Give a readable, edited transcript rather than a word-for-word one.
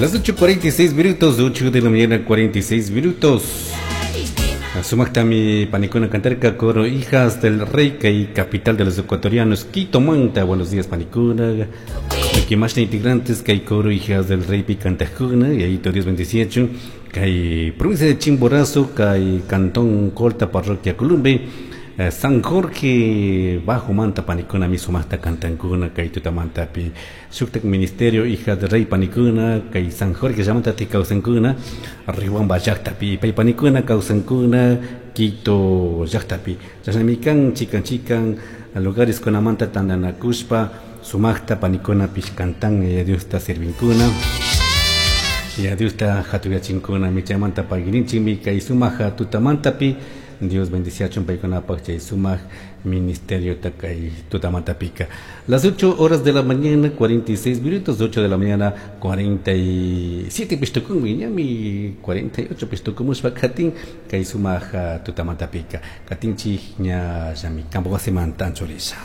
Las 8:46 minutos, 8 de la mañana 46 minutos. Sumaktami panikuna cantarka coro Hijas del Rey kay capital de los ecuatorianos Quito Manta. Buenos días, panikuna. Aquí más integrantes kay coro Hijas del Rey pi cantajuna y ahí Dios 28 kay provincia de Chimborazo, kay cantón Colta, parroquia Columbe. San Jorge Bajo Manta panikuna mi sumaqta cantankuna kay tutamantapi shuktak ministerio Hija del Rey panikuna kay San Jorge llamantati kawsankuna Riobamba llaqtapi pay panikuna kawsankuna Quito llaqtapi chashnami kan chikan chikan lugares kunamanta tantanakushpa sumaqta panikunapish cantan Yaya Diosta servinkuna, Yaya Diosta hatuyachinkuna. Michaymanta pagirinchikmi kay sumaq tutamantapi. Dios bendiciachun paykunapaq chay sumaq ministerio kay tutamantapika. Las 8 horas de la mañana 46 minutos, 8 de la mañana 47 pishtukunmi, ñami 48 pishtukumushpa katin kay sumaq tutamantapika. Katinchik ña llami campo wasimanta anchurisha.